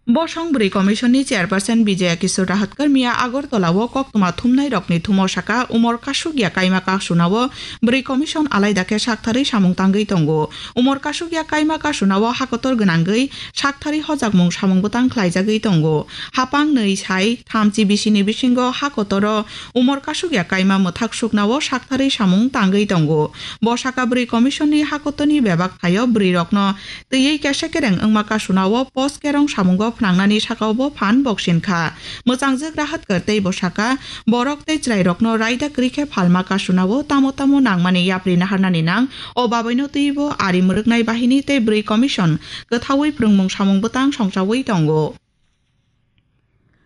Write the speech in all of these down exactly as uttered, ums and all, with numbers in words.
Bosong Bwrwi Commission ni Chairperson Bijaya Kishore Rahatkar miya Agartala o koktwma thumnai rokni thumo saka umor kasukya kaima kasunao Bwrwi Commission alaida khe saktharwi samung tangwi tongo. Umor kasukya kaima kasunao hakotor gwnangwi saktharwi hojakmung samung bwtang khlaijagwi tongo. Hapang nwi sai thamchi bisini bisingo hakotoro umor kasukya kaima mwthak suknao saktharwi samung tangwi tongo. Bo saka Bwrwi Commission ni hakotorni bebak thaio bwrwi rokno twiwi kesa kereng wngma kasunao post kerong samungo phnangnani sakao bo phan boksin kha. Mwchangjwk Rahatkar tei bo saka, borok tei chwrairokno raida kwrwi khe phalma kasunao tamo tamo nangmani yapri naharnani nang, o babaino twibo ari mwrwknai bahini tei Bwrwi Commission kwthaui phrwngmung samung bwtang songchaui tongo.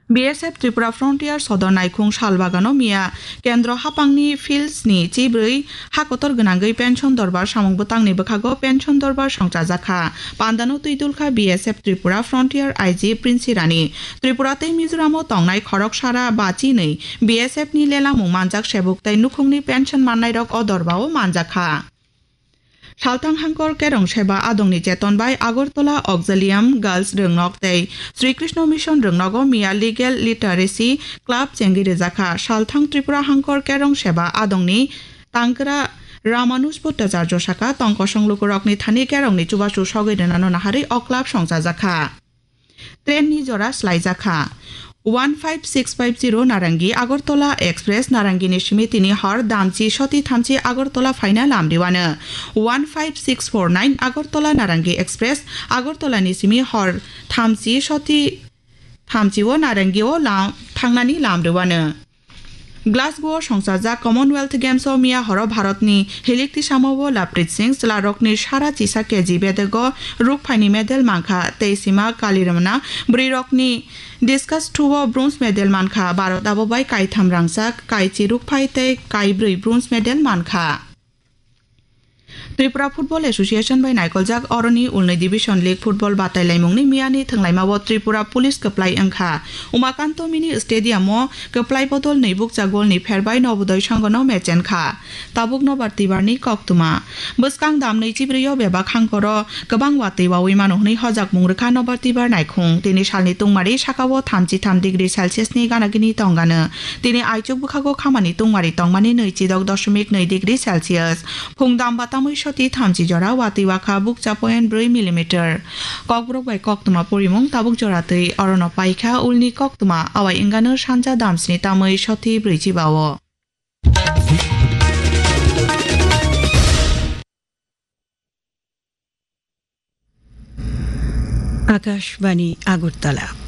B S F Tripura Frontier Sodor Naikhung Salbagano miya Kendro hapangni fields ni chibrwi hakotor gwnangwi pension dorbar samung bwtangni bwkhago pension dorbar songchajakha. Pandano twidulkha B S F Tripura Frontier I G Prince Rani. Tripura tei Mizoramo tongnai khoroksara bachinwi B S F ni lelamung manjak sebuk tei nukhungni pension mannairok o dorbao manjakha. Salthang Hangkor Kerong Seba Adongni Cheton bai Agartala Auxilium Girls Rwngnok tei Sri Krishna Mission Rwngnogo miya Legal Literacy Club chengwi rwjakha. Salthang Tripura Hangkor Kerong Seba Adongni Tangkra Ramanuj Bhattacharya saka tong kosong lukurokni thani kerongni chubachu sogwi rwnano naharwi o club songchajakha. Train ni jora slaijakha. One five six five zero Narangi Agartala Express Narangi ni simi tini hor damchi soti thamchi Agartala phaina lamriwano. One five six four nine Agartala Narangi Express Agartala ni simi hor thamchi soti thamchi o Narangi o lam thangnani lamriwano. Glasgow o songchajak Commonwealth Games o miya horo Bharatni hilikti samao Laprit Singh chwlarokni sara chisa K G bedego rukphaini medal mankha tei sima Kalirmana bwrwirokni discus throw o bronze medal mankha. Bharat abo bai kaitham rangchak, kaichi rukphai tei kaibrwi bronze medal mankha. Tripura Football Association bai naikoljak oroni ulnwi Division League Football batai laimungni miyani thwnglaimao Tripura Police kwplai wngkha. Umakanto Mini Stadium o kwplai bodol nwi bukcha golni pherbai Nobodoi Sanghono mechenkha. Tabuk Nobar Tibarni koktwma. Bwskang damnwi chibrwi o bebak hangkoro kwbang watwi wawi mano hwnwi hojakmung rwkha Nobar Tibar naikhung. Tini salni tungmari sakao thamchi tham degree Celsius ni ganagini tongano. Tini aichuk bwkhago khamani tungmari tongmani nwi chidok doshomik nwi degree Celsius. Phung dam batamwi soti thamchi jora watwi wakha bukcha point brwi millimeter. Kokborok bai koktwma porimung tabuk jora twi orono paikha ulni koktwma awai wngano sanja damsni tamwi soti brwichi bao. Akashbani Agartala.